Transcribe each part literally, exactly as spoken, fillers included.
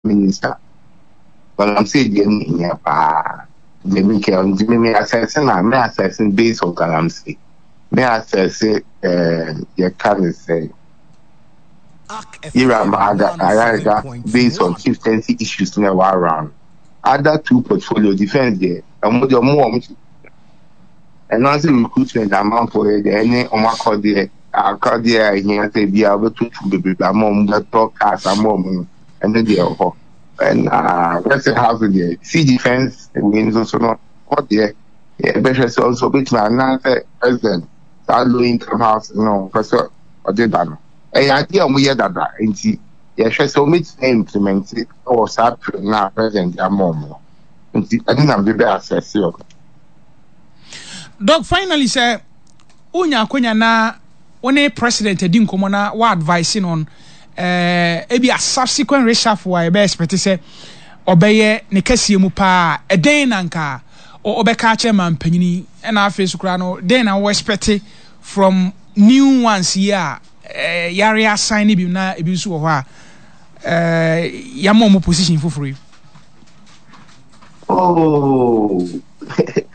Minister. Galamsey deɛ no hia paa. Deɛ meka, nti me me assess na me assess based on galamsey. Me assess ɛɛ yɛka ne sɛ Yira Ayariga based on chieftaincy issues na ɛwɔ around. Other two portfolio, defence deɛ, ɛmo deɛ ɔmo wɔ ɔmo ɛno ase, recruitment amanfoɔ yɛ deɛ ɛne ɔmo akɔdeɛ akɔdeɛ a ehia sɛ bi a wɔbɛtutu bebree ama ɔmo, bɛtɔ cars ama ɔmo no, ɛno deɛ ɛwɔ hɔ. Ɛna Western House deɛ, sea defence wei nso so no, hɔ deɛ yɛbɛhwɛ sɛ ɔnso ɔbɛtumi anaasɛ President saa low income house no ɔpɛ sɛ ɔde da no, ɛyɛ adeɛ a wɔyɛ dada, nti yɛhwɛ sɛ wɔbɛtumi implement wɔ saa period na President ama ɔmo no. Nti ɛno na mede bɛ assess ɔmo. Doc, finally, sɛ wonya akonya na wo ne President adi nkɔmmɔ na wa advice no on eh, ebi a subsequent reshuffle a yɛbɛ expect sɛ ɔbɛyɛ ne kɛseɛ mu paa, ɛdɛn na nka ɔbɛka akyerɛ ma mpanyini? Ɛna afei so koraa no, dɛn na wo expect from new ones yi a eh, yare asan ne bi na ebi nso wɔ hɔ a eh, yɛama ɔmo position foforɔ yi? Oh,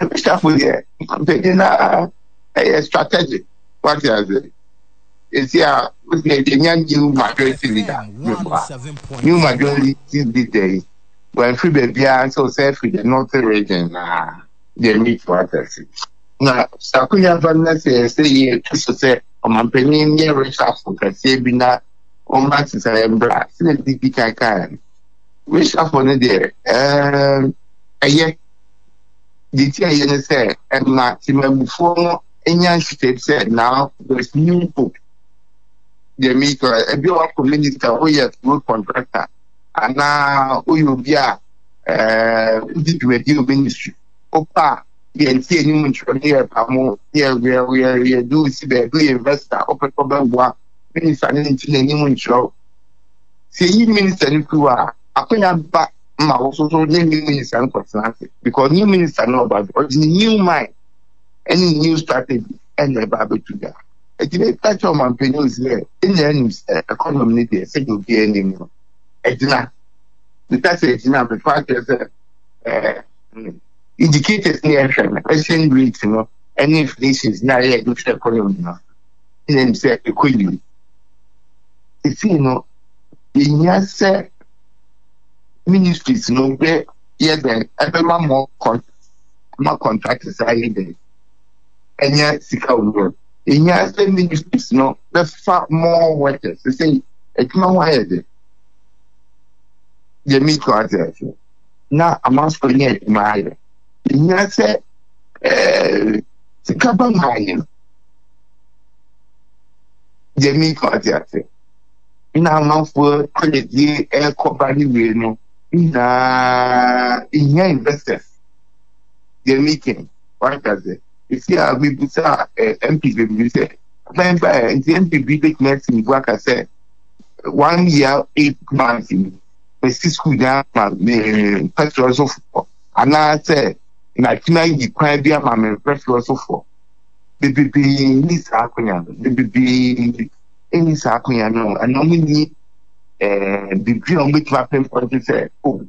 reshuffle deɛ, mpanyin na ɛyɛ strategic. Wate ase? Esi a wosi yɛnya new majority leader, new majority leader yi wɔnfiri baabiara nso sɛ firi the Northern Region na deɛ meet. Wate ase? Na sakonya ba no sɛ sɛ yɛ tu so sɛ ɔmanpanyin nyɛ reshuffle kɛseɛ bi na ɔma sisa yɛn bra sɛ bibi kankan. Reshuffle no deɛ, ɛɛm ɛyɛ deɛ ti a ɛyɛ ne sɛ ɛma temamufoɔ no nya nhyehyɛ sɛ now there is new hope. Deɛ meka, ebi a wakɔ minister, woyɛ road contractor anaa woyɛ obi a ɛɛ wodi dwumadi wɔ ministry, wopa a yɛnti anim nkyerɛ ne yɛ pamo yɛ yɛ yɛ yɛ do si baabi. Woyɛ investor, wopɛ sɛ ɔbɛboa minister ne nti n'anim nkyerɛw sɛ eyi minister no fi hɔ a, akonnwa ba ma wo soso ne new minister no kɔtena ase, because new minister no ɔba, ɔde ne new mind ɛne new strategy ɛna ɛba abɛtu dwa. Ɛti ne ka kyerɛ ɔmanpanyin sɛ ɛnya anim sɛ economy no deɛ, sɛdeɛ obiara anim no, ɛgyina. Meka sɛ ɛgyina, mefa kyerɛ sɛ ɛɛ indicators ne yɛhwɛ no, exchange rate no ɛne inflation na yɛ de hwɛ economy no, ɛna nim sɛ ɛkɔ yie. Esii no, yɛhia sɛ ministries no bɛ yɛ dɛn ɛbɛma more con ma contractors ayɛ dɛn ɛnyɛ sika wɔ mu. Yɛhia sɛ ministries no bɛfa more workers sɛ adwuma ho ayɛ dɛ. Deɛ mi kɔ ate ase na amanfoɔ nyɛ adwuma ayɛ. Yɛhia sɛ ɛɛ sika ba maa yɛn. Deɛ mi kɔ ate ase na amanfoɔ kɔnyɛdie ɛrekɔba ne wie no nyinaa, ehia investors. Deɛ mi kɛn wate ase, esi a mibusa ɛ M P bebree sɛ aban ba ɛ nti M P bi betumi asi ne bu aka sɛ one year eight months yi mesi school dan ama me mpɛsoɔ sofoɔ anaasɛ n'atena yi kwan bi ama me mpɛsoɔ sofoɔ. Bebree ni saa akonnwa no, bebree ni saa akonnwa no, ɛna wɔn ni ɛɛ biribi a wɔn betumi apempɔnte sɛ o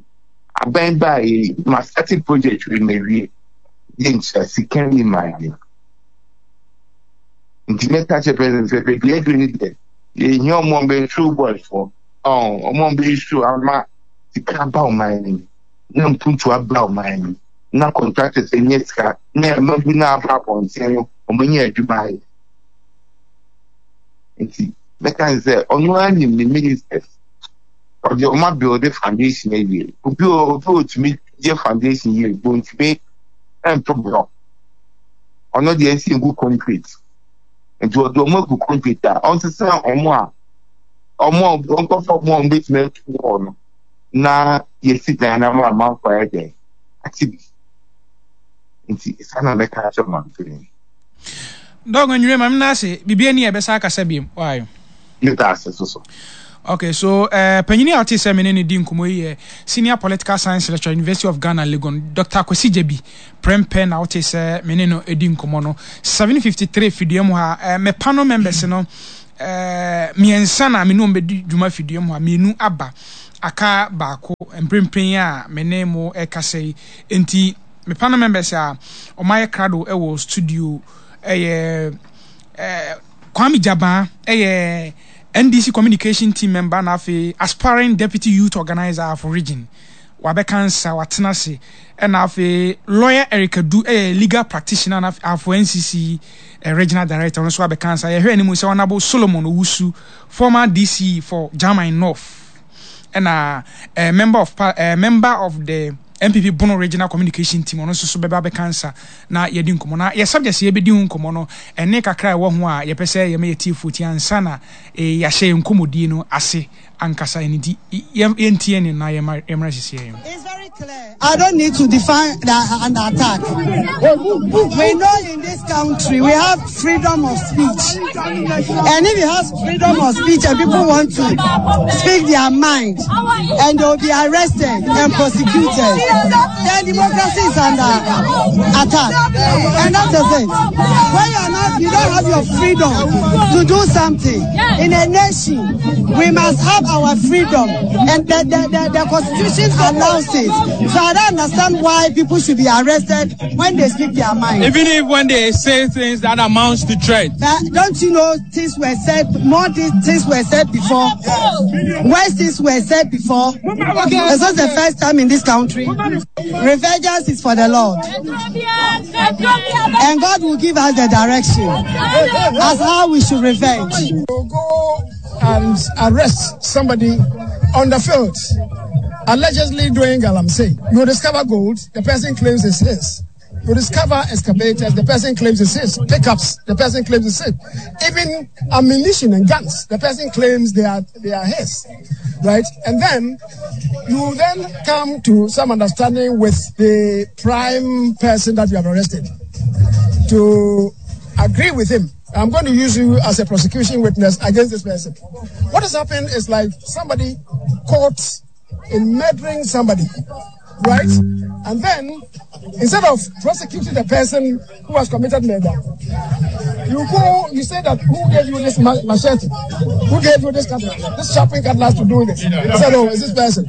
aban baa yi ma start project wei ma wie yɛ nkyerɛ sika ni ma yɛ. Nti mɛka kyerɛ President sɛ beebi aduru ni deɛ, yɛhia ɔmo a ɔmo show boys fo, ɔn ɔmo a ɔmo bɛyɛ show ama sika aba ɔman no mu na mpuntu aba ɔman no mu na contractors nyɛ sika na ɛma bi na aba abɔnten no, ɔmo nyɛ adwuma ayɛ. Nti mɛka ne sɛ ɔno ara nim ne ministers, ɔde ɔmo abuild foundation awie. Obi o obi otumi yɛ foundation yie, bontumi ɛnto block, ɔno deɛ nsi ngu concrete. Nti ɔde ɔmo agu concrete a, ɔnsesa ɔmo a ɔmo a ɔnkɔfa ɔmo a ɔmo betumi atu wall no na yɛsi dan na ama amanfo ayɛ dɛn ate bi. Nti saa na mɛka akyerɛ ɔmanpanyin. Doc, anwummerɛ ma mena ase. Biribi ani a ɛbɛsa akasa biom why? Meda ase so so. Okay, so uh, panyini a ɔte sɛ me ne ne di nkɔmmɔ yi yɛ senior political science lecturer, University of Ghana, Legon, Doctor Kwasi Gyebi Prempeh, na wote sɛ me ne no di nkɔmmɔ no. seven fifty-three fidua mu ha. uh, me panel members no uh, mmiɛnsa na me ne wɔn bɛdi dwuma fidua mu ha. Mmienu aba. Aka baako mprempren a me ne mo ɛkasa yi. Nti me panel members a ɔmo ayɛ krado ɛwɔ studio ɛyɛ ɛɛ Kwame Jabaa, ɛyɛ N D C communication team member na afei aspiring deputy youth organizer for region, wabɛka nsa watena ase. Ɛna afei Lawyer Eric Adu, ɛyɛ legal practitioner na afɔ N C C eh, regional director, ɔno nso abɛka nsa. Yɛhwɛ anim sɛ Honourable Solomon Owusu, former D C for Jaman North, ɛna eh, member of eh, member of the N P P Bono Regional Communication Team, ɔno nso so bɛba abɛka nsa na yɛdi nkɔmmɔ. Na yɛ subject sɛ yɛbɛdi ho nkɔmmɔ no, ɛne kakra a ɛwɔ ho a yɛpɛ sɛ yɛma yɛtiefoɔ ti ansa na eh, yɛahyɛ yɛn nkɔmmɔdie no ase ankasa. Ɛno nti yɛntie ne na yɛmmra sisiɛ yɛn. It's very clear. I don't need to define the, an attack. We know in this country we have freedom of speech. And if you have freedom of speech and people want to speak their mind and they will be arrested and prosecuted, then democracy is under attack. And that is it. When you are not, you don't have your freedom to do something in a nation, we must have our freedom. And the, the, the, the constitution allows it. So I don't understand why people should be arrested when they speak their mind. Even if when they say things that amounts to threat. Uh, don't you know things were said, more things were said before? Worse things were said before. It's not the first time in this country. Revenge is for the Lord. And God will give us the direction as how we should revenge. Go and arrest somebody on the field, allegedly doing galamsey. You discover gold, the person claims it's his. You discover excavators, the person claims it's his. Pickups, the person claims it's his. Even ammunition and guns, the person claims they are they are his. Right? And then you then come to some understanding with the prime person that you have arrested to agree with him. I'm going to use you as a prosecution witness against this person. What has happened is like somebody caught in murdering somebody, right? And then instead of prosecuting the person who has committed murder, you go, you say that who gave you this machete? Who gave you this cutlass? This sharpened cutlass to do this? You said, "Oh, it's this person."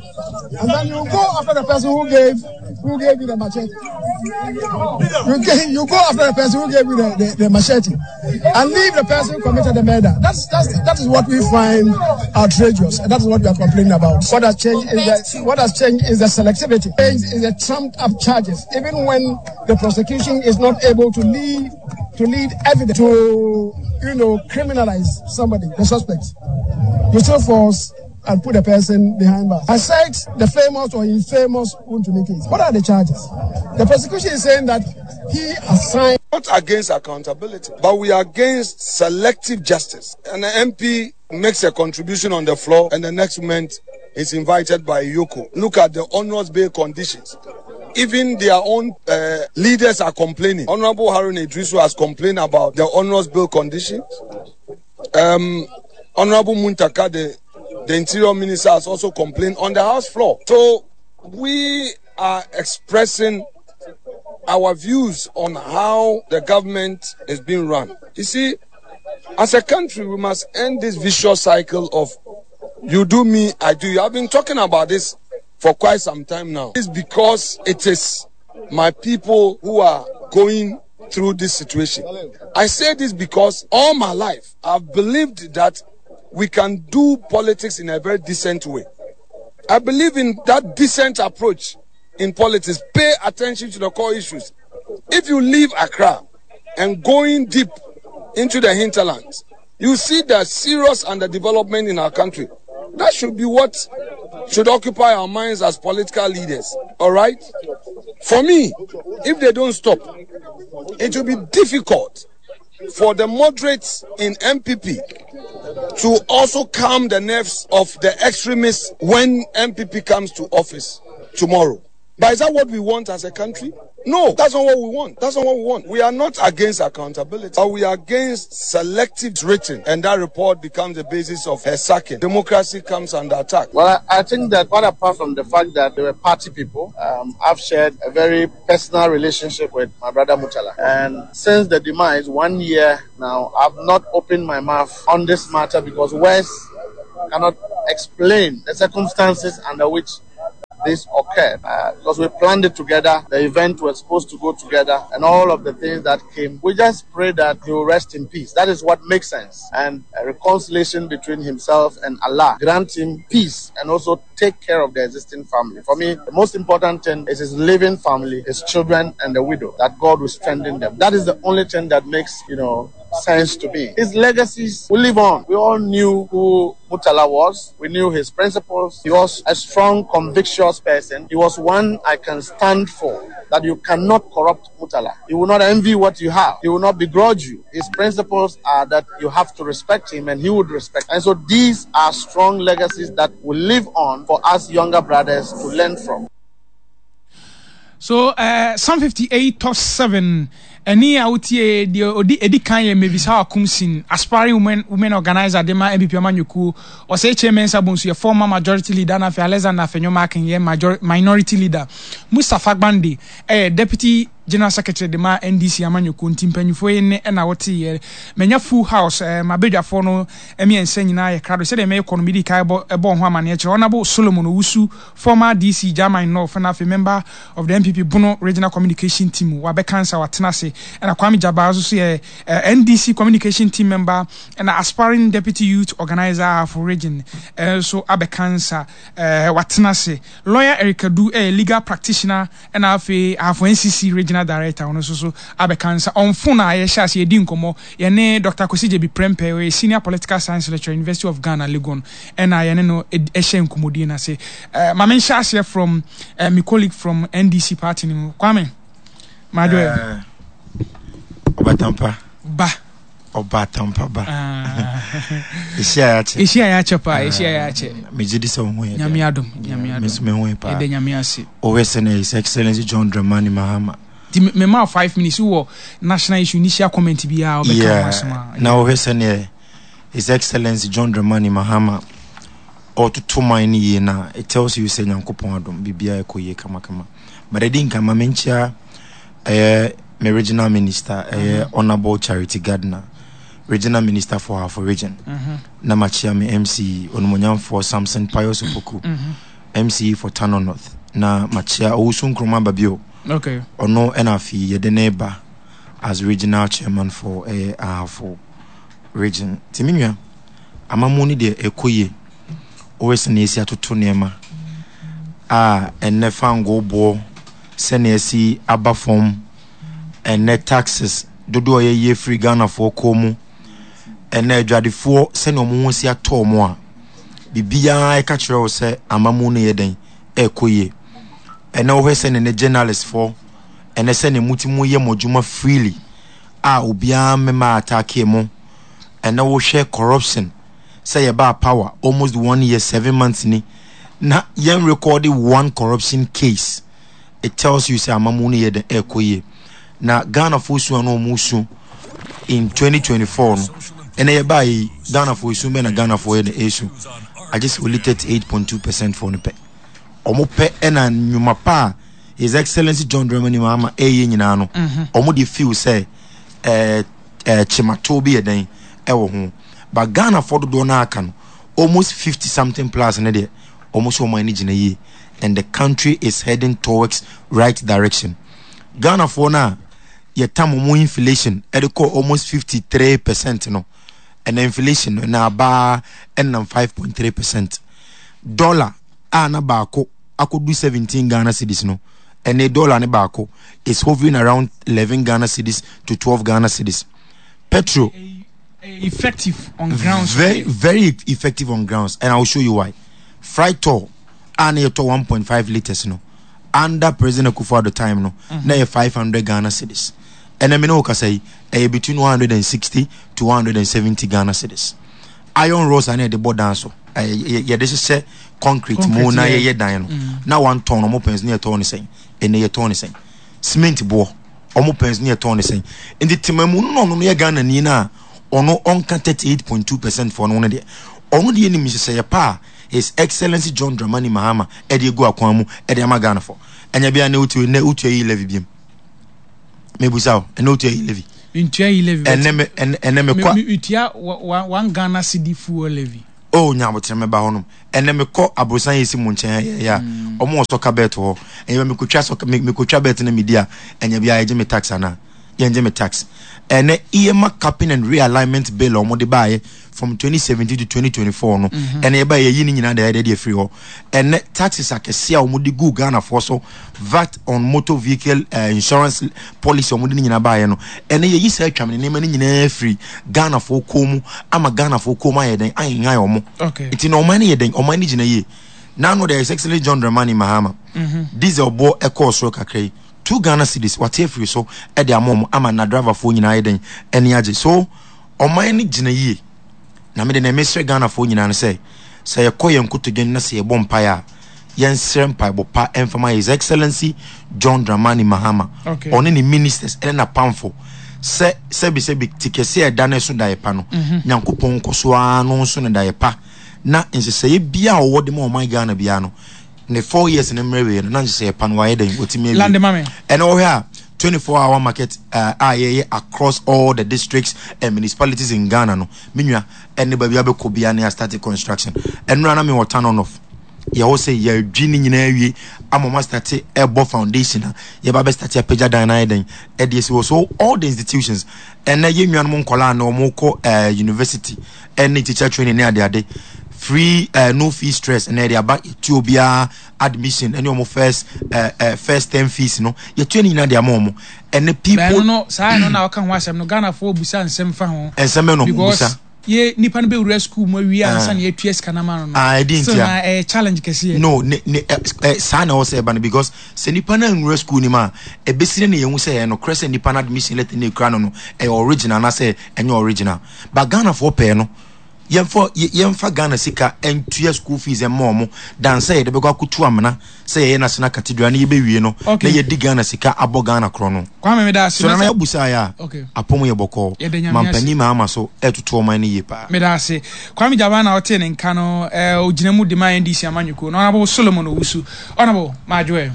And then you go after the person who gave who gave you the machete. You, gave, you go after the person who gave you the, the, the machete and leave the person who committed the murder. That's, that's, that is what we find outrageous, and that is what we are complaining about. What has changed is the, what has changed is the selectivity. Change is the trumped up charges. Even when the prosecution is not able to lead to lead evidence to you know criminalize somebody, the suspect, you still force and put a person behind bars. I cite the famous or infamous Wontumi case. What are the charges? The prosecution is saying that he assigned. Not against accountability, but we are against selective justice. And the M P makes a contribution on the floor, and the next moment is invited by EOCO. Look at the onerous bail conditions. Even their own uh, leaders are complaining. Honorable Haruna Iddrisu has complained about the onerous bail conditions. Um, Honorable Muntaka, the, the Interior Minister, has also complained on the House floor. So we are expressing our views on how the government is being run. You see, as a country, we must end this vicious cycle of you do me, I do you. I've been talking about this for quite some time now. It's because it is my people who are going through this situation. I say this because all my life I've believed that we can do politics in a very decent way. I believe in that decent approach in politics. Pay attention to the core issues. If you leave Accra and going deep into the hinterlands, you see the serious underdevelopment in our country. That should be what should occupy our minds as political leaders. All right? For me, if they don't stop, it will be difficult for the moderates in N P P to also calm the nerves of the extremists when N P P comes to office tomorrow. But is that what we want as a country? No, that's not what we want. That's not what we want. We are not against accountability, but we are against selective written, and that report becomes the basis of a sacking. Democracy comes under attack. Well, I think that quite apart from the fact that they were party people, um, I've shared a very personal relationship with my brother Murtala. And since the demise, one year now, I've not opened my mouth on this matter because words cannot explain the circumstances under which this occurred. Uh, because we planned it together, the event was supposed to go together, and all of the things that came. We just pray that he will rest in peace. That is what makes sense. And a reconciliation between himself and Allah grant him peace and also take care of the existing family. For me, the most important thing is his living family, his children, and the widow, that God will strengthen them. That is the only thing that makes, you know, sense to me. His legacies will live on. We all knew who Murtala was. We knew his principles. He was a strong, convictious person. He was one I can stand for, that you cannot corrupt Murtala. He will not envy what you have. He will not begrudge you. His principles are that you have to respect him and he would respect. And so these are strong legacies that will live on for us younger brothers to learn from. So, uh, Psalm fifty-eight, top seven. Ɛni a wotie deɛ odi edi kan yɛ Mavis Hawa Koomson, aspiring women women organizer de ma N P P amanyɔkuo. Osei Kyei Mensah Bonsu yɛ former majority leader, na afei Alexander Afenyo Markin yɛ major minority leader. Mustapha Gbande ɛyɛ deputy general secretary de ma N D C amanyɔkuo. Nti mpanyinfoɔ yi ne ɛna wɔte yɛ manya full house. ɛɛ mabedwafoɔ no mmiɛnsa nyinaa yɛ krado sɛdeɛ mɛyɛ kɔ no. Medi kan ɛbɔ ɛbɔ ho amaneɛ kyerɛ Honourable Solomon Owusu, former D C Jaman North, na afei member of the N P P Bono Regional Communication Team, wabɛka nsa watena ase, ɛna Kwame Jaba nso so yɛ uh, N D C communication team member ɛna aspiring deputy youth organizer for region nso abɛka nsa ɛɛ watena ase. Lawyer Eric Adu ɛyɛ legal practitioner ɛna afei Ahafo N C C regional director, ɔno nso so abɛka nsa. On phone a yɛhyɛ ase yɛdi nkɔmmɔ yɛne Doctor Kwesi Gyebi Prempeh, ɔyɛ senior political science lecturer, University of Ghana, Legon, ɛna yɛne no ɛhyɛ nkɔmmɔdie no ase. ɛɛ maame nhyɛ aseɛ from uh, my colleague from N D C party no mu. Kwame Madwo. Uh, ɔbatampa ba. Ɔbatampa ba, ɛhyia yɛ akyɛ. Ɛhyia yɛ akyɛ paa, ɛhyia yɛ akyɛ. Megye di sɛ wo ho yɛ. Nyame adom, Nyame adom. Me nso me ho yɛ paa. Yɛda Nyame ase. Ɔwɛ sɛ no His Excellency John Dramani Mahama. Nti mema five minutes wɔ national issue, initial comment biara wobɛka ho Yeah, asɛm a. Na wɔhwɛ sɛneɛ His Excellency John Dramani Mahama ɔtoto man no yie na it tells you sɛ Nyankopɔn adom, biribiara ɛkɔ yie kamakama. But ɛdi nka ma menkyia ɛyɛ me regional minister, ɛyɛ Honorable Charity Gardner, regional minister for Ahafo Region, na makyia me M C Onimonyamfoɔ Samson Pius Opoku, M C for Tano North, na makyia Owusu Nkrumah Babio. Okay ɔno ɛna afei yɛde ne ba as regional chairman for ɛyɛ Ahafo Region. Nti me nua, amammu no deɛ ɛkɔ yie. Wɔyɛ sɛ na esi atoto nneɛma a ɛnɛ fango boɔ sɛnea esi aba fam, ɛnɛ taxes dodoɔ a yɛyɛ firi Ghanafoɔ kɔn mu, ɛnɛ adwadefoɔ sɛnea wɔn ho si atɔ wɔn a biribiara ɛka kyerɛ wo sɛ amammu no yɛ den ɛkɔ yie. Ɛnɛ wɔhwɛ sɛ ne ne journalistfoɔ ɛnɛ sɛ ne mu ti mu yɛ mo adwuma freely a obiara mmɛma attack mo. Ɛnɛ wohwɛ corruption sɛ yɛbaa power almost one year seven months ni na yɛn record one corruption case, it tells you sɛ amamu no yɛ den ɛkɔ yie. Na Ghanafoɔ su a na wɔn su in twenty twenty-four no, ɛnɛ yɛbaa yi, Ghanafoɔ esu bɛn na Ghanafoɔ yɛ den esu agye sɛ only thirty-eight point two percent foɔ no pɛ, ɔmo pɛ ɛna nnwuma pa a His Excellency John Dramani Mahama ɛyɛ nyinaa no, ɔmo de feel sɛ ɛɛ ɛɛ kyemato bi yɛ den ɛwɔ ho. But Ghanafoɔ dodoɔ no aka no almost fifty something plus ne deɛ ɔmo sɛ ɔmo ani gyina yie and the country is heading towards right direction. Ghanafoɔ no a yɛtam ɔmo inflation ɛde kɔ almost fifty three percent no, ɛna inflation no na abaa ɛnam five point three percent. Dollar a na baako akɔdu seventeen Ghana cedis no, ɛne dollar ne baako is hovering around eleven Ghana cedis to twelve Ghana cedis. Petrol effective on grounds. Very very effective on grounds, and I will show you why. Frytol a na yɛtɔ one point five litres no under President Akufo-Addo time no mm -hmm. na yɛ five hundred Ghana cedis. Ɛnna mi ne wo kasa yi, ɛyɛ between one hundred and sixty to one hundred and seventy Ghana cedis. Iron rods a na yɛde bɔ dan so, ɛyɛ yɛde hyehyɛ concrete mu na yɛyɛ dan no mm. na one ton ɔmo pɛns ne yɛtɔn ne sɛn? Ɛnna yɛtɔn ne sɛn? Cement boɔ ɔmo pɛns ne yɛtɔn ne sɛn? Nti temamu no, ɔno no yɛ Ghana ni na ɔno ɔnka thirty eight point two percent foɔ no no deɛ, ɔno deɛ nim nhyehyɛeɛ pa a His Excellency John Dramani Mahama ɛde egu akwan mu ɛde ama Ghana fo. Ɛnyɛ bia ne wotu ne wotu yi levy biem, mebusa o, ɛne wotu yi levy? Ntua yi levy. ɛnɛ me ɛnɛ me kɔ ntua one Ghana cedi fuel levy. Oh, nya abotrɛ, mɛba hɔnom. Ɛnɛ mekɔ aborosan yɛ si mu nkyɛn yɛ yɛ a, ɔmo wɔ soccer bet hɔ. Ɛnyɛ mekotwa soccer, mekotwa bet na medi a, ɛnyɛ bia yɛgye me tax ana? Yɛngye me tax. Ɛnɛ earmark capping and realignment bill a ɔmo de baayɛ from twenty seventeen to twenty twenty-four no, ɛnɛ yɛba yɛyi ne nyinaa de ayɛ de afiri hɔ. Ɛnɛ taxes akɛseɛ a wɔde gu Ghanafoɔ so, V A T on motor vehicle, uh, insurance policy a wɔde ne nyinaa baayɛ no, ɛnɛ yɛyi saa atwam ne nneɛma no nyinaa firi Ghanafoɔ kɔn mu ama Ghanafoɔ kɔn mu ayɛ dɛn ahenhan wɔn. Okay. Nti na ɔman no yɛ dɛn, ɔman no gyina yie. Nano de His Excellency John Dramani Mahama, diesel boɔ ɛkɔɔ soro kakra yi, two Ghana cedis wate afiri so ɛde ama ɔmo ama na driverfoɔ nyinaa yɛ dɛn ɛne agye so. Ɔman no gyina yie na mede na mesrɛ Ghanafoɔ nyinaa no sɛ sɛ yɛkɔ yɛn nkotodwe na sɛ yɛbɔ mpaeɛ a, yɛnsrɛ mpaebɔ pa ɛmfama His Excellency John Dramani Mahama, Okay. ɔne ne ministers ɛne n'apamfo sɛ sɛbisɛbi ti kɛseɛ a ɛda no so daeɛ pa no, Nyankopɔn nkɔ so ara no nso ne daeɛ pa na nhyehyɛeɛ bia a ɔwɔ de ma ɔman Ghana biara no, ne four years ne mmerɛ wei no na nhyehyɛeɛ pa no wayɛ dɛn wɔtumi awie. Lande ma me. Ɛna wɔhwɛ a, twenty-four hour market uh, a yɛyɛ across all the districts and municipalities in Ghana no, me nua, ɛne baabi abɛkɔ bia ne astart construction. Ɛnora na mewɔ Tano North, yɛwɔ sɛ yɛadwi ne nyinaa awie ama ɔma start ɛbɔ foundation a yɛba bɛ start apagya dan no ayɛ dɛn ɛde asi wɔ. So all the institutions, ɛnɛ yɛn nuanom nkɔlaa na ɔmo kɔ uh, university ɛne teacher training ne adeade, free, uh, no fee stress, ɛnɛ yɛde aba. Yɛtu obiara admission ɛne ɔmo first uh, uh, first term fees no, yɛtua ne nyinaa de ama ɔmo. Ɛnɛ people Bɛn no saa ɛno na ɔka ho asɛm no, Ghanafoɔ busa nsɛm fa ho. Nsɛm bɛ na ɔmo because busa? Yɛ nipa no bɛwura school mu awie ansa na yɛtua sika no ama no no Ah, ɛdi Still ntia. na ɛyɛ challenge kɛseɛ. No, ne ne ɛ ɛ saa na ɛwɔ sɛ ɛba no, because sɛ nipa no anwura school no mu a, ɛbɛsi ne na yɛhu sɛ ɛyɛ nokorɛ sɛ nipa no admission letter no ekura no no ɛyɛ original anaasɛ ɛnyɛ original. But Ghanafoɔ pɛɛ no, yɛmfa yɛ- yɛmfa Ghana sika ɛntua school fees ɛmma ɔmo dan sɛ yɛde bɛkɔ akɔtu amena sɛ yɛyɛ National Cathedral na yɛbɛwie no Okay. na yɛdi Ghana sika abɔ Ghana korɔ no. Kwame, meda ase. So nana, Mɛsɛ- yɛbusa yɛ a, Okay. apɔm yɛ bɔkɔɔ. Yɛda Nyame ase. Mampanyin Mahama so ɛtoto ɔman no yie paa. Meda ase. Kwame Gyaba na ɔtee ne nka no, eh, ogyina mu de ma N D C amanyɔkuo no. Honorable Solomon Owusu, Honorable Maadwoɛ.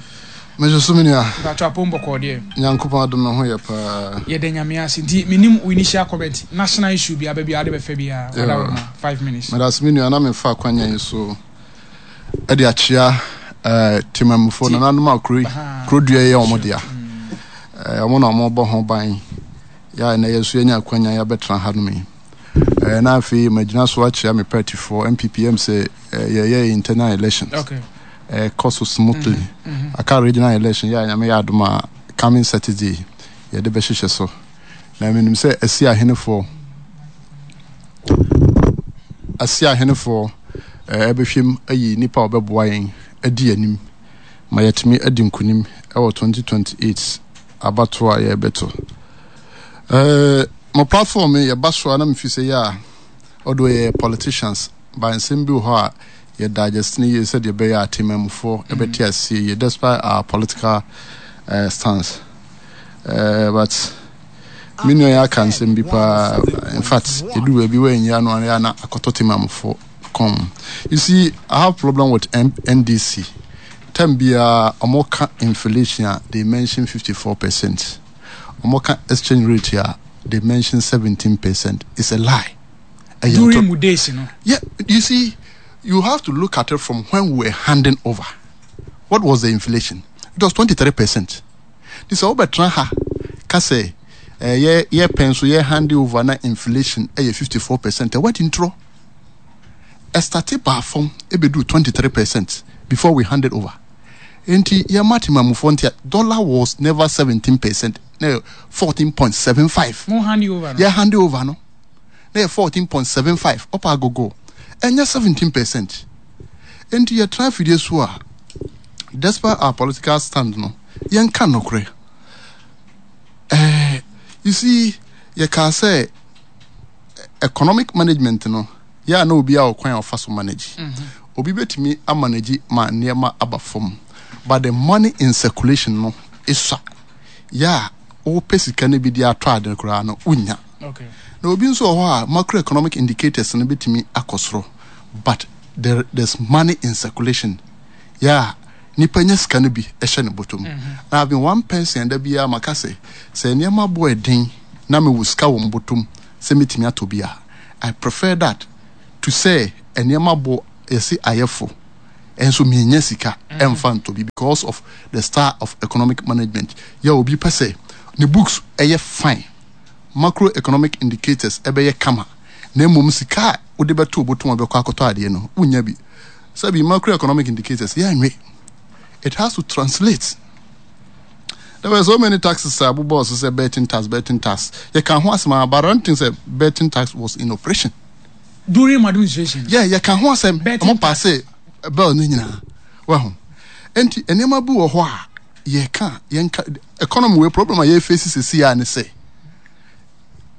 Meso so, me nua. Mpatwɔ, apɔm bɔkɔɔ deɛ? Nyankopɔn adom, me ho yɛ paa. Yɛda Nyame ase. Nti menim wo initial comment, national issue bi aba bi a wode bɛfɛ biara wada wo ma five minutes. Meda ase, me nua, na mefa akwanya yi so ɛde akyea eh, temamufoɔ nananom a kuro Aha. kuro dua yɛ ɔmo dea. Eh, ɔmo na ɔmo bɔ ho ban yɛ a ɛnɛ yɛ so yɛnya akwanya yɛabɛtena hanom yi. Eh, na afei magyina so akyea me partyfoɔ N P P M sɛ eh, yɛyɛ internal elections okay eh, kɔ so smoothly. Aka regional election yɛ a, Nyame yɛ adom a, coming Saturday yɛde bɛhyehyɛ so, na menim sɛ asi ahenefoɔ asi ahenefoɔ eh, ɛbɛhwɛ mu ayi nipa a ɔbɛboa yɛn adi anim ma yɛtumi adi nkonim ɛwɔ twenty twenty-eight abatoɔ a yɛrebɛto. Eh, mo platform yi yɛba so a, na mefi sɛ yɛ a, although yɛyɛ politicians, but nsɛm bi wɔ hɔ a yɛ digest no yie sɛdeɛ ɛbɛyɛ a temamufoɔ ɛbɛte aseɛ yie despite our political uh, stance. uh, but me nua yɛ aka nsɛm bi paa. In fact, ɛdu baabi woanyia no a na akɔtɔ temamufoɔ kɔn. You see, I have problem with M NDC. Time biara ɔmo ka inflation a, they mention fifty-four percent. Ɔmo ka exchange rate a, they mention seventeen percent. It's a lie. Ɛyɛ during nto- mu days no. Yeah, you see, you have to look at it from when we were handing over. What was the inflation? It was twenty-three percent. This wobɛtena ha ka sɛ eh, yɛ yɛ pɛn so yɛ hand over na inflation ɛyɛ fifty-four percent. Ɛwɔ ntorɔ. Ɛstart baa fam ɛbɛduru twenty-three percent before we handed over. Nti yɛ ma temamufoɔ nti a, dollar was never seventeen percent, na fourteen point seven five. Mo hand over no. Yɛ hand over no na yɛ fourteen point seven five, ɔpa agogo ɛnyɛ seventeen percent. Nti yɛtena afidie so a, despite our political stand no, yɛnka nokorɛ. ɛɛ you see, yɛkaa sɛ economic management no yɛ a, na obi a ɔkwan a ɔfa so manage, obi bɛtumi amanage ma nneɛma aba fam, but the money in circulation no esua yɛ a, wopɛ sika no bi de atɔ ade koraa no, wonya. Okay na obi nso wɔ hɔ a, macroeconomic indicators no bɛtumi akɔ soro, but there, there's money in circulation yɛ a, nipa nya sika no bi ɛhyɛ ne bɔtɔ mu. Na I've been one person da biara maka sɛ sɛ nneɛma bɔ ɛden na mewɔ sika wɔ m bɔtɔ mu sɛ metumi atɔ bi a, I prefer that to say Nneɛma bo yɛsi ayɛfo ɛnso mienya sika ɛmfa ntɔ bi because of the style of economic management. Yɛ obi pɛ sɛ ne books ɛyɛ fine, macroeconomic indicators ɛbɛyɛ kama, na mmom sika a wode bɛto obotom a bɛkɔ akɔtɔ adeɛ no, wonya bi. Sɛbi, macroeconomic indicators yɛnwe, it has to translate. There were so many taxes a abobɔ so sɛ betting tax, betting tax, yɛka ho asɛm a, but I don't think sɛ betting tax was in operation during my administration. Yeah, yɛka ho asɛm. Betting. Ɔmo pass bill no nyinaa wahu. Nti nneɛma bi wɔ hɔ a yɛka, yɛnka economy wei problem a yɛface sisi a ne sɛ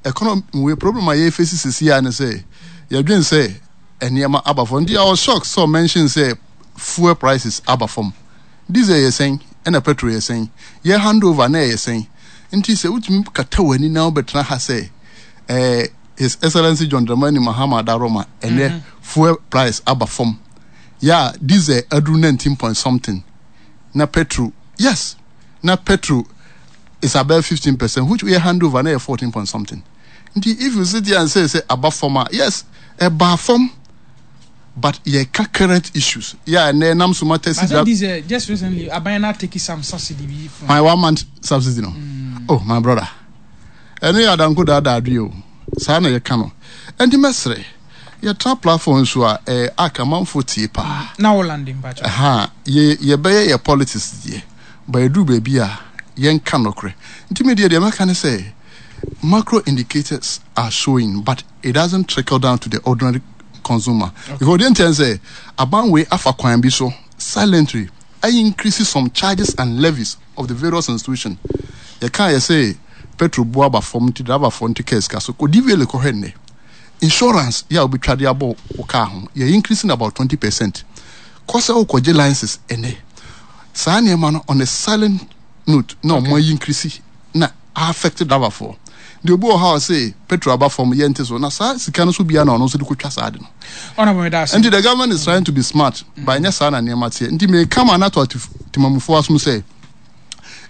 economy wei problem a yɛface sisi a ne sɛ yɛdwen sɛ nneɛma aba fam. Nti I was shocked sɛ mention sɛ fuel prices aba fam. Diesel yɛ sɛn ɛna petrol yɛ sɛn? Yɛ hand over na ɛyɛ sɛn? Nti sɛ wotumi kata w'ani na wobɛtena ha sɛ ɛɛ His Excellency John Dramani Mahama Daroma ɛnɛ mm -hmm. fuel price aba fam, yeah, diesel aduru nineteen point something na petrol, yes, na petrol is about fifteen percent, which we hand over na yɛ fourteen point something. Nti if you sit here and say sɛ aba fam a, yes, ɛba fam, but yɛka current issues, yeah, ɛnɛ nam so ma tɛsi. But diesel, just recently aban na take some subsidy bi from my one month subsidy no mm. Oh, my brother, ɛno yɛ adanko daadaa dwe o. Saa na yɛka no. Ɛnti mɛsrɛ, yɛtena platform so a ɛɛ aka amanfo tie paa. Na wo landing mpakyɛ. Ha yɛ yɛbɛyɛ yɛ politics deɛ, but yɛduru baabi a yɛnka nokorɛ. Nti mi deɛ deɛ mɛka ne sɛ macro indicators are showing, but it doesn't trickle down to the ordinary consumer okay. Because deɛ nkyɛn sɛ aban wei afa kwan bi so silently ɛyɛ increase some charges and levies of the various institutions. Yɛka yɛ sɛ petrol bu aba fam nti driverfoɔ nti kaa sika so kɔ D V L A kɔhwɛ. Nnɛ insurance yɛ a wobɛtwa de abɔ wo car ho yɛ increasing about twenty percent. Kɔ sɛ wokɔgye license ɛnɛ, saa nneɛma no on a silent note na ɔmo ayi increase na affect driverfoɔ. Deɛ obi wɔ ha a ɔsɛ petrol aba fam, yɛnte so na saa sika no so bia na ɔno nso de kɔtwa saa de no. Honorable, meda ase. Nti the government is trying to be smart mm. but ɛnyɛ saa na nneɛma teɛ. Nti meka ma anato temamufoɔ asom sɛ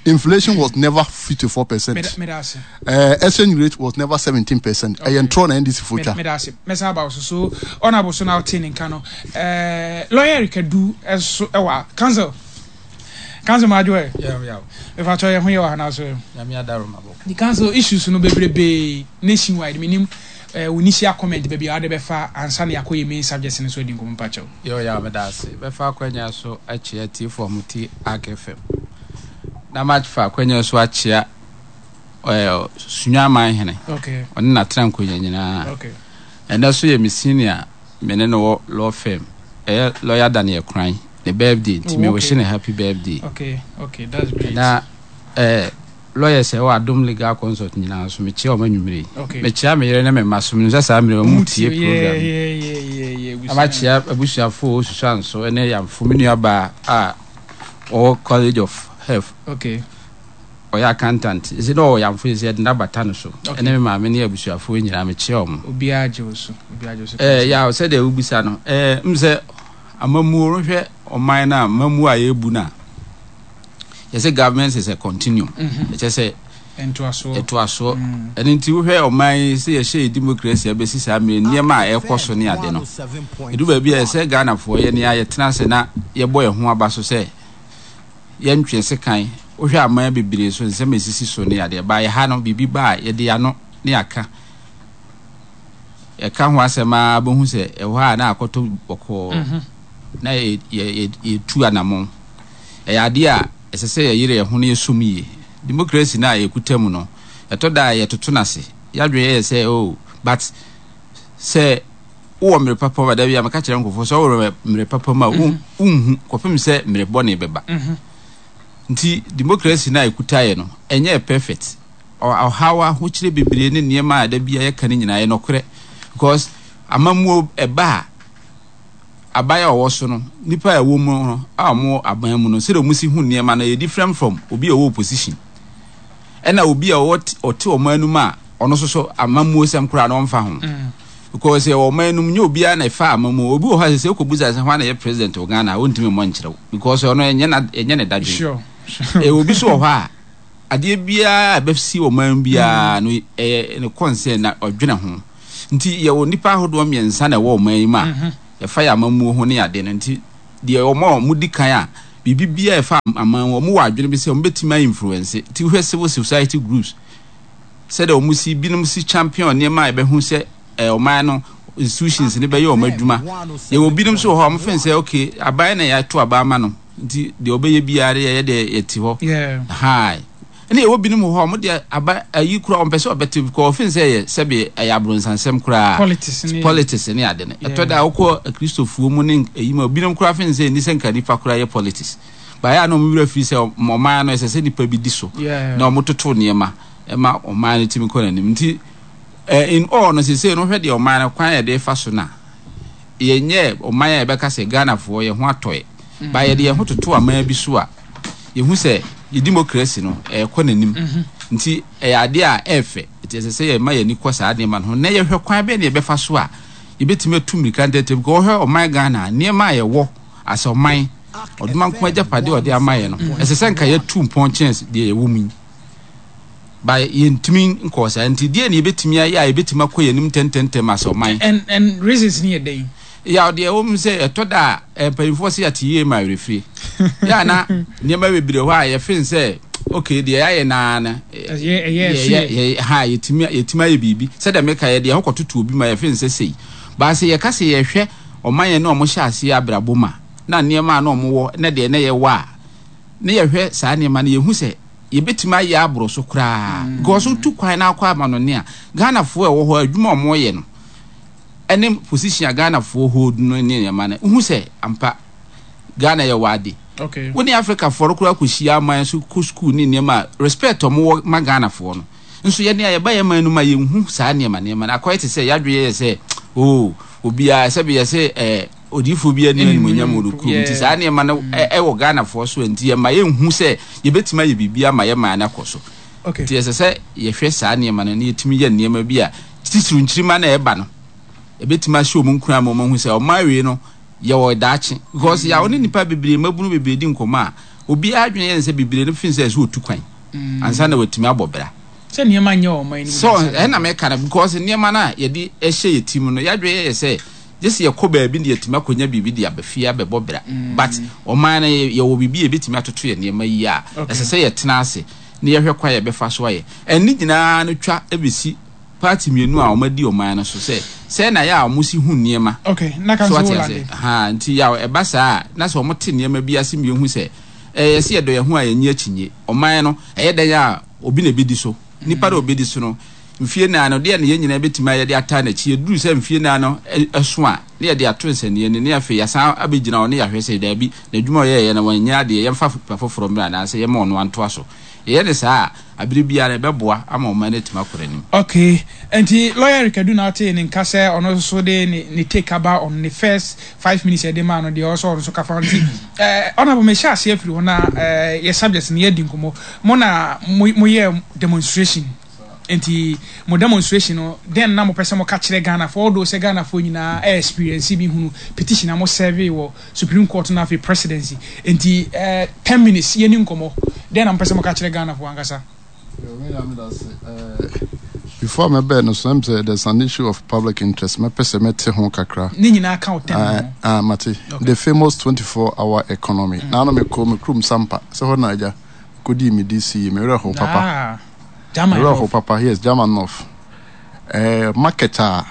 inflation was never fifty-four percent. Meda meda ase. uh, exchange rate was never seventeen percent. Ɛyɛ ntorɔ na N D C fo twa. Meda ase, mɛsa aba wo so. So honorable, so na wote ne nka no, eh, lawyer Eric Adu ɛso ɛwɔ council council maadwo ɛ. Yeah, yeah. Mefatɔ yɛ ho yɛ wɔ ha na so. Nyame adaro ma bɔ. The council issues no bebrebe nationwide. Menim eh, wo initial comment baabi a wode bɛfa ansa na yɛakɔ yɛ main subject no so adi nkɔmmɔ, mpakyɛw. Yo, ya meda ase. Bɛfa akwanya so akyia tiefoɔ mo ti Ark F M. Na mafa akwanya so akyia eh, Sunyaman hene. Okay Ɔne n'atena nkonnwa nyinaa. Okay Ɛnɛ so yɛ me senior, me ne no wɔ law firm. Ɛyɛ lawyer Daniel Kran. Ne birthday nti Oh, me okay. wish ne happy birthday. okay okay that's great. Na eh, lawyers a ɛwɔ Adom Legal Consult nyinaa so mekyia ɔmo anwummere yi. Okay. Mekyia me yere ne me mma so, menim sɛ saa mmerɛ ɔmo tie program yi. yeah yeah yeah yeah Na makyia abusuafoɔ a wɔsusu anso ne yamfo, me nua baa a ɔwɔ College of Health, okay ɔyɛ accountant ɛsɛ na ɔwɔ yamfo sɛ yɛde n'abata no so. Okay. Ɛne me maame ne abusuafoɔ nyinaa mekyia ɔmo. Obiara gye wo so, obiara gye wo so. Ɛɛ yaw, sɛdeɛ wobisa no, ɛɛ m sɛ amammuo no, hwɛ ɔman no a amammuo a yɛrebu no a yɛsɛ government is a continuum. Mhm. Ɛkyɛ sɛ ntoasoɔ. Ɛtoasoɔ. Mm. Ɛno nti wohwɛ ɔman yi sɛ yɛhyɛ yɛ democracy abɛsi saa mmerɛ, nneɛma a ɛrekɔ so ne ade no, ɛdu baabi a ɛsɛ Ghanafoɔ yɛ nea yɛtena ase na yɛbɔ yɛn ho aba so sɛ yɛntwe sekan. Wohwɛ aman bebree so, nsɛm a ɛsisi so ne adeɛ ba yɛ ha no, biribi ba a yɛde ano ne yɛaka yɛka ho asɛm a bɛhu sɛ ɛhɔ a na akɔtɔ bɔkɔɔ. Mhm. Na yɛ- yɛ- yɛ- yɛtu anammɔn. Ɛyɛ adeɛ a ɛsɛ sɛ yɛyere yɛn ho no yɛsom yie. Democracy no a yɛkuta mu no, ɛtɔ da a yɛtoto no ase, yɛadwene yɛyɛ sɛ oh, but sɛ wowɔ mmere papa mu a, da bi a meka kyerɛ nkurɔfoɔ sɛ wowɔ mmere papa mu a, wo- wonhu kɔpem sɛ mmere bɔne bɛba. Mhm. Nti democracy no a ɛkuta yɛ no ɛnyɛ perfect. Ɔ- ɔhaw ahokyere bebree ne nneɛma a da bi a yɛka no nyinaa yɛ nɔkorɛ, because amammuo ɛba a, aban a ɔwɔ so no, nipa a ɛwɔ mu no a wɔn aban mu no, sɛdeɛ wɔn si hu nneɛma no yɛ different from obi a ɔwɔ opposition, ɛna obi a ɔwɔ ɔte ɔman no mu a ɔno nso so amammuo sɛm koraa na ɔmfa ho. Mm. Because ɛwɔ ɔman no mu, nye obiara na ɛfa amammuo. Obi wɔ hɔ a sɛ sɛ okɔbusa sɛ hwan na ɛyɛ president wɔ Ghana a, ɔntumi mmɔ nkyerɛw because ɔno ɛnyɛ na ɛnyɛ ne dadwen. Sure ɛwɔ obi so wɔ hɔ a adeɛ biara a ɛbɛsi ɔman biara no ɛyɛ ne concern na ɔdwene ho. Nti yɛwɔ nipa ahodoɔ mmiɛnsa na ɛwɔ ɔman yi mu a Mhm. Ɛfa yɛ amammuo ho ne ade no nti deɛ wɔn a wɔdi kan a biribi biara ɛfa aman wɔn wɔ adwene bi sɛ wɔn bɛtumi ayɛ influence. Nti wohwɛ civil society groups sɛdeɛ wɔn si binom si champion nneɛma a yɛbɛhu sɛ ɛɛ ɔman no institutions ne bɛyɛ wɔn adwuma. Yɛwɔ binom nso wɔ hɔ a wɔn fɛn sɛ okay, aban na yɛato aba ama no nti deɛ ɔbɛyɛ biara yɛyɛ deɛ yɛte hɔ. Hi, ɛna yɛwɔ binom wɔ hɔ a wɔn deɛ aba ayi kura wɔn pɛ sɛ ɔbɛte kɔ ɔfin sɛ yɛ sɛbi ɛyɛ aburonsansɛm koraa, politics ne politics ne ade no. Ɛtɔ da wokɔ akristofoɔ mu ne eyi mu, binom koraa fin sɛ ni sɛ nka nipa koraa yɛ politics baayɛ a na wɔn werɛ firi sɛ ɔman no ɛsɛ sɛ nipa bi di so na wɔn toto nneɛma ɛma ɔman no tumi kɔ n'anim. Nti ɛɛ in all no, sese no hwɛ deɛ ɔman no kwan yɛde fa so na yɛnyɛ ɔman a yɛbɛka sɛ Ghanafoɔ yɛn ho atɔɛ ba yɛde yɛn ho toto aman bi so a yɛhu sɛ yɛ democracy no ɛkɔ n'anim. Nti ɛyɛ adeɛ a ɛɛfɛ, nti ɛsɛ sɛ yɛma yɛn ani kɔ saa nneɛma no ho na yɛhwɛ kwan bɛn na yɛbɛfa so a yɛbɛtumi atu mmirika ntɛntɛm, because wɔhwɛ ɔman Ghana nneɛma a yɛwɔ asɛ ɔman ɔdoma nko agyapadeɛ a ɔde ama yɛ no, ɛsɛ sɛ nka yɛtu mpɔn kyɛn deɛ yɛwɔ mu yi ba yɛntumi nkɔɔ saa. Nti deɛ ne yɛbɛtumi ayɛ a yɛbɛtumi akɔ yɛn anim ntɛntɛntɛm asɛ ɔman? and and reasons ni yɛ dɛn? Yaw, deɛ ɛwɔ mu sɛ ɛtɔ da a mpanyinfoɔ sɛ yɛate yie ma awerɛfie yɛ na nneɛma bebree hɔ a yɛfen sɛ okay, deɛ yɛayɛ naa no ha yɛtumi yɛtumi ayɛ biribi sɛdeɛ meka yɛ deɛ hɔkɔtoto obi ma yɛfen sɛ sei baasɛ yɛka sɛ yɛhwɛ ɔman yɛn ne ɔmo hyɛ aseɛ abrabɔ mu a na nneɛma a na ɔmo wɔ na deɛ na yɛwɔ a ne yɛhwɛ saa nneɛma no, yɛhu sɛ yɛbɛtumi ayɛ aboro so koraa because wotu kwan na akɔ ama no ne a Ghanafoɔ a ɛwɔ hɔ adwuma a ɔmo yɛ no ɛne position a Ghanafoɔ hold no ne nneɛma no, wohu sɛ ampa Ghana yɛ wɔ ade. Okay wo ne Africafoɔ no koraa kɔhyia aman so kɔ school ne nneɛma a respect ɔmo wɔ ma Ghanafoɔ no nso yɛne a yɛba yɛ man no mu a yɛnhu saa nneɛma nneɛma no akɔyɛ te sɛ yɛadwe yɛ sɛ oo obiara sɛbi yɛ sɛ ɛɛ odiifoɔ bi ani animonyam wɔ no kurom. Nti saa nneɛma no ɛwɔ Ghanafoɔ so, nti yɛma yɛnhu sɛ yɛbɛtumi ayɛ biribi ama yɛ man no akɔ so. Okay nti ɛsɛ sɛ yɛhwɛ saa nneɛma no na yɛtumi yɛ nneɛma bi a titiriw nkyirima na ɛba no ɛbɛtumi ahyɛ ɔmo nkuran ma ɔmo ahu sɛ ɔman wei no yɛwɔ daakye, because yàwó ne nipa bebree mabunu bebree di nkɔmɔ a obiara adwene yɛn sɛ bebree no fin sɛ ɛsɛ otu kwan ansa na watumi abɔ bra. Sɛ nneɛma nyɛ ɔman no mu. So ɛna mɛka no because nneɛma no a yɛde ɛhyɛ yɛ ti mu no, yɛadwene yɛ sɛ gye sɛ yɛkɔ baabi de yɛtumi akɔnya biribi de aba fie abɛbɔ bra, but ɔman no yɛwɔ biribi a yɛbɛtumi atoto yɛ nneɛma yi a ɛsɛ sɛ yɛtena ase na yɛhwɛ kwan yɛbɛfa so ayɛ. Ɛne nyinaa no twa ɛbɛsi party mmienu a wɔn adi ɔman no so sɛ sɛ na yɛ a wɔn si hu nneɛma. Okay, na kan so so ate wɔ ase lande. Ha nti yaw ɛba saa a na sɛ wɔn te nneɛma bi ase mmienu sɛ ɛyɛ sɛ yɛdɔ yɛn ho a yɛnyi akyinye ɔman no ɛyɛ dan a obi na ebedi so nipa na obedi so no mfie nan no deɛ ne yɛn nyinaa bɛtumi ayɛ de ata n'akyi. Yɛduru sɛ mfie nan no ɛso a ne yɛde ato nsɛnniɛ ni ne afei yɛsan abɛgyina hɔ ne yɛahwɛ sɛ daabi, n'adwuma a ɔyɛɛyɛ no wɔnyɛ adeɛ, yɛmfa pa foforɔ mmerɛ anaasɛ yɛma ɔno antoa so. Yɛyɛ ne saa a abere biara ɛbɛboa ama ɔman no atumi akɔ n'anim. Okay, nti lawyer Eric Adu na ate ne nka sɛ ɔno nso de ne ne take aba on ne first five minutes yɛde maa no deɛ ɔsɔ ɔno nso kafa. Nti ɛɛ ɔnabɔ mehyɛ aseɛ firi hɔ na ɛɛ yɛ subject no yɛdi nkɔmmɔ mo na mo mo yɛ demonstration. Nti mo demonstration no den na mo pɛ sɛ mo ka kyerɛ Ghanafoɔ, although sɛ Ghanafoɔ nyinaa ɛ experience bi hunu petition a mo serve wɔ Supreme Court na afei presidency. Nti ɛɛ ten minutes yɛni nkɔmmɔ, den na mo pɛ sɛ mo ka kyerɛ Ghanafoɔ ankasa? Before mɛbɛɛ no so ɛm sɛ there's an issue of public interest mɛpɛ sɛ mɛte ho kakra. Ne nyinaa ka wo ten Ah, no. ah, mate. The famous twenty-four hour economy mm. Naano mekɔ me kurom Sampa sɛ hɔ na agya kɔdii me D C E, mewerɛ ho papa. Ah, German mewerɛ ho North. Papa, yes, German North eh, market a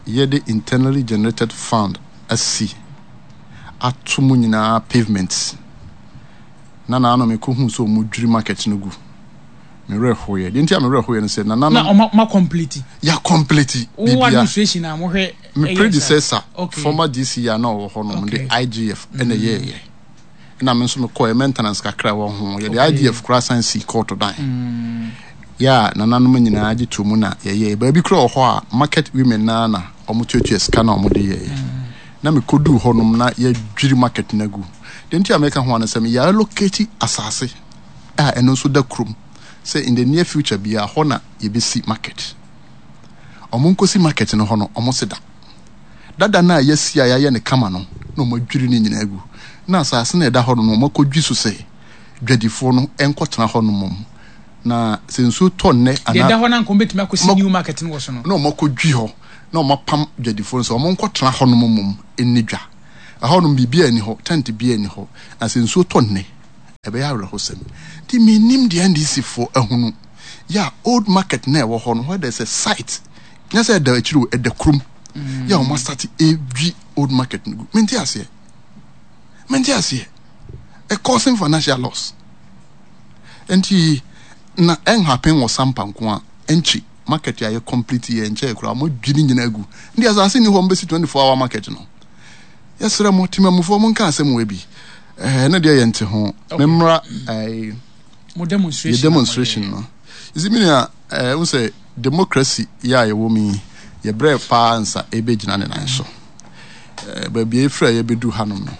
yɛde internally generated fund asi ato mu nyinaa pavement na naano mekɔhuu sɛ ɔmu dwiri market no gu, mewerɛ hoyɛ. Deɛ nti a mewerɛ hoyɛ no sɛ na nananom ɔma ma complete yɛ complete wo biribia. Administration a mohwɛ Me ɛyɛ predecessor, Okay. former D C a na ɔwɔ hɔ nom de Okay. I G F ɛna yɛɛyɛ ɛna me nso mekɔɛ maintenance kakra wɔ ho yɛde Okay. I G F koraa san si court dan yɛ a nananom nyinaa gye to mu na yɛyɛɛ baabi koraa wɔ hɔ a market women naa na ɔmo tuatua sika na ɔmo de yɛɛyɛ na mekɔduu hɔnom na yɛdwiri market no agu. Deɛ nti a meka ho ano sɛ yɛ allocate asase a ɛno nso da kurom sɛ in the near future biara hɔ na yɛbɛsi market. Ɔmo nkɔsi market no hɔ no, ɔmo se da dada no a yɛasi a yɛayɛ ne kama no na ɔmo adwiri no nyinaa agu na asase no a ɛda hɔ no no ɔmo akɔdwi so sɛ dwadifoɔ no nkɔtena hɔ no mmom na sɛ nsuo tɔ nnɛ deɛ ɛda anaa hɔ na nka ɔmbɛtumi akɔsi Mo- new market no wɔ so no na ɔmo akɔdwi hɔ. Na wɔapam dwadifoɔ no sɛ wɔnkɔtena hɔnom mmom nni dwa. Ɛhɔnom biribiara nni hɔ, tɛnte biara nni hɔ, na sɛ nsuo tɔ nnɛ, ɛbɛyɛ awerɛhosɛm. Nti mennim deɛ N D C foɔ ahunu. Yɛ a Old Market na ɛwɔ hɔ no, where there's a site, nyɛ sɛ ɛda akyiri o, ɛda kurom. Yɛ a wɔn asate ɛredwi Old Market no gu. Mente aseɛ. Mente aseɛ. Ɛ causing financial loss. Nti na ɛnhappen wɔ Sampa nko a, ɛnkyi market a yɛ complete yɛ nkyɛn koraa, wɔn adwi ne nyinaa gu. Nti asase ni hɔ, wɔn bɛsi twenty four hour market no. Yɛsrɛ mo, temamufoɔ, mo nka asɛm wɔ bi. Ɛɛ ne deɛ yɛnte ho. Memmra ɛɛ mo demonstration. Yɛ demonstration no. Isi mi nua, ɛɛ n sɛ democracy yɛ a yɛwɔ mu yi, yɛbrɛ paa nsa ebɛgyina ne nan so. Ɛɛ baabi a efiri a yɛbɛdu hanom no,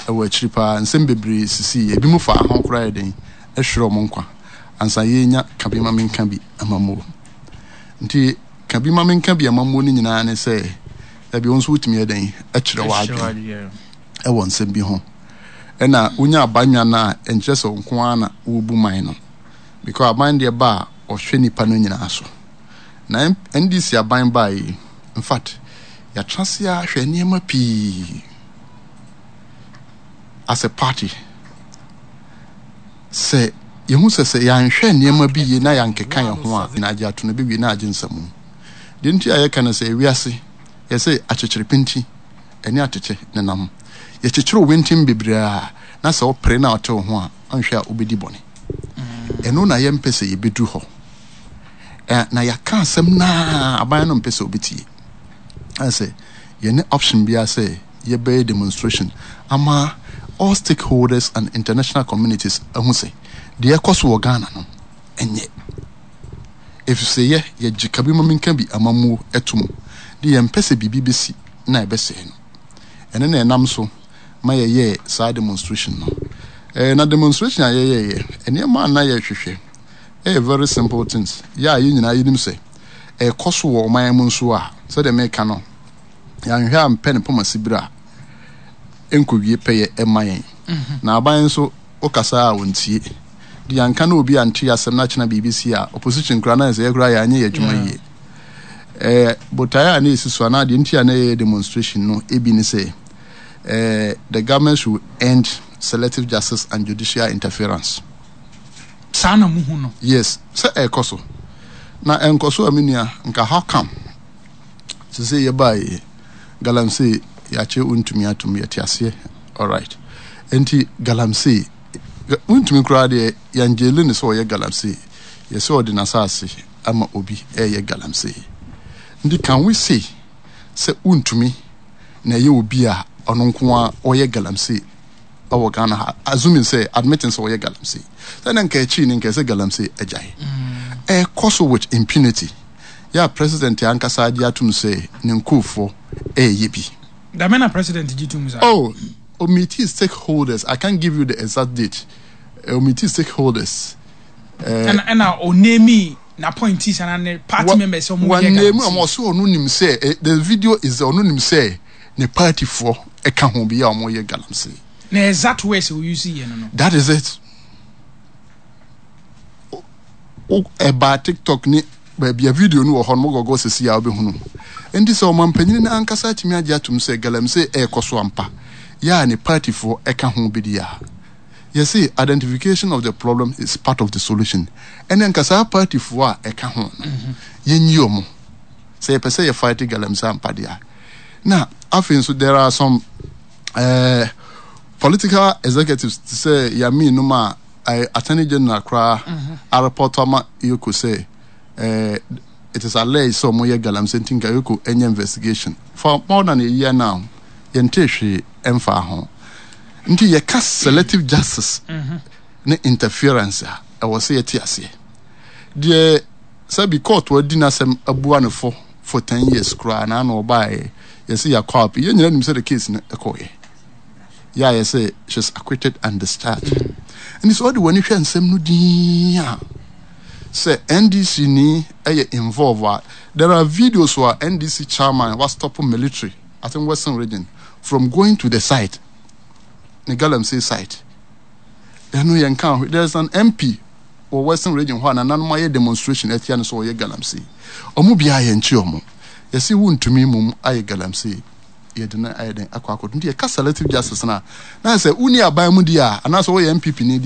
ɛwɔ akyiri paa. Nsɛm bebree sisi, ebi mu fa ho koraa yɛ den ɛhwerɛ ɔmo nkwa ansa yɛnya ka bi ma menka bi amammuo. Nti ka bi ma menka bi amammuo no nyinaa ne sɛ ɛbi wo nso wotumi yɛ den ɛkyerɛ w'adwene ɛwɔ nsɛm bi ho. Ɛna wonya abannwa no a, ɛnkyerɛ sɛ wo nko ara na wobu man no, because aban deɛ ba a, ɔhwɛ nipa no nyinaa so. Na N D C aban baa yi, in fact, yɛatena se ahwɛ nneɛma pii as a party sɛ yɛhu sɛ sɛ yɛanhwɛ nneɛma bi yie na yɛankeka yɛn ho a, na agye ato no bɛwie na agye nsɛm. Deɛ nti a yɛka no sɛ ewiase yɛsɛ akyekyere penti ɛne atɛkyɛ nenam. Yɛkyekyere wentim bebree a, na sɛ wopere na ɔte wo ho a, ɔnhwɛ a wobɛdi bɔne. Ɛno na yɛmpɛ sɛ yɛbɛduru hɔ. Na yɛaka asɛm naa, aban no mpɛ sɛ wobɛtie. Sɛ yɛne option biara sɛ yɛbɛyɛ demonstration ama all stakeholders and international communities ahu sɛ deɛ ɛkɔ so wɔ Ghana no ɛnyɛ, ɛfiri sɛ yɛ yɛgye kabi ma menka bi amammuo ɛtom de, yɛmpɛ sɛ biribi bɛsi na ɛbɛsɛe no. Ɛno na ɛnam so ma yɛyɛɛ saa demonstration no. ɛɛ na demonstration a yɛyɛyɛ, nneɛma a na yɛhwehwɛ ɛyɛ very simple things. Yɛ a yɛn nyinaa yɛnim sɛ ɛkɔ so wɔ ɔman mu nso a, sɛdeɛ meka no, yɛanhwɛ a mpɛ ne pɔmasi bere a nkɔwie pɛyɛ ɛma yɛn mhm. Na aban nso wokasa a wɔntie de, yɛnka na obi ante asɛm no akyena biribi si a, opposition koraa na sɛ yɛ koraa yɛanyɛ yɛ adwuma yie. ɛɛ botaeɛ a na ɛsi so anaa deɛ nti a na yɛyɛ demonstration no ebi ne sɛ ɛɛ the government should end selective justice and judicial interference. Saa na muhu no? Yes, sɛ ɛkɔ so na ɛnkɔ so a, me nua, nka how come sɛ sɛ yɛbaa galamsey yɛakyɛ wontumi atom, yɛte aseɛ, alright. Nti galamsey wontumi koraa deɛ, yɛngyele ne sɛ ɔyɛ galamsey, yɛsɛ ɔde n'asase ama obi ɛyɛ galamsey. Nti can we say sɛ wontumi na ɛyɛ obi a ɔno nko a ɔyɛ galamsey ɛwɔ Ghana ha, assuming sɛ, admitting sɛ ɔyɛ galamsey, sɛ na nka akyiri ne nka ɛsɛ galamsey agyae ɛkɔ so with impunity, yɛ a president ankasa agye atom sɛ ne nkurɔfoɔ ɛyɛ bi. Dame na president gye tom saa? Oh, ɔmeeti stakeholders. I can't give you the exact date. Ɔmeeti stakeholders. Ɛna ɛna ɔname na appointees ana ne party members ɔmo yɛ galamsey. Wɔname ɔmo, ɔsɛ ɔno nim sɛ the video is, ɔno nim sɛ ne party foɔ ɛka ho bi a ɔmo yɛ galamsey. Na exact words o use yɛ no no. That is it. Ɛbaa TikTok ne baabi a video no wɔ hɔ no, mo gɔgɔ sisi a wobɛhunu. Nti sɛ ɔmanpanyin no ankasa atumi agye atom sɛ galamsey ɛrekɔ so ampa, yɛ a ne partyfoɔ ɛka ho bi di a, yɛse identification of the problem is part of the solution. Ɛnɛ nka saa partyfoɔ a ɛka ho no, yɛnyi ɔmo sɛ yɛpɛ sɛ yɛ fight galamsey ampa deɛ a. Na afei nso there are some uh, political executives te sɛ Yamin nom a uh, attorney general koraa areport ama EOCO sɛ uh, it is alleged sɛ ɔmo yɛ galamsey, nti nka EOCO ɛnyɛ investigation for more than a year now. Yɛnte hwee ɛmfa ho. Nti yɛka selective justice ne interference a, ɛwɔ sɛ yɛte aseɛ deɛ sɛbi court adi n'asɛm abua ne fo for ten years koraa na ano ɔbaeɛ, yɛsɛ yɛakɔ appeal. Yɛn nyinaa nim sɛ the case no ɛkɔɔyɛ yɛ a yɛsɛ she's acquitted and discharged. Nti sɛ ɔde w'ani hwɛ nsɛm no din a, sɛ N D C ni ɛyɛ involve a, there are videos a N D C chairman wa stop military, I think Western Region, from going to the site, ne galamsey site. Ɛno yɛn ka ho. There is an M P wɔ Western Region hɔ a nananom ayɛ demonstration atia no sɛ ɔyɛ galamsey. Ɔmo biara yɛn nkyi ɔmo. Yɛse Wontumi mmom ayɛ galamsey, yɛde no ayɛ dɛn akɔ akɔto. Nti yɛka selective justice no a, na sɛ wonni aban mu di a, anaasɛ woyɛ N P P ni.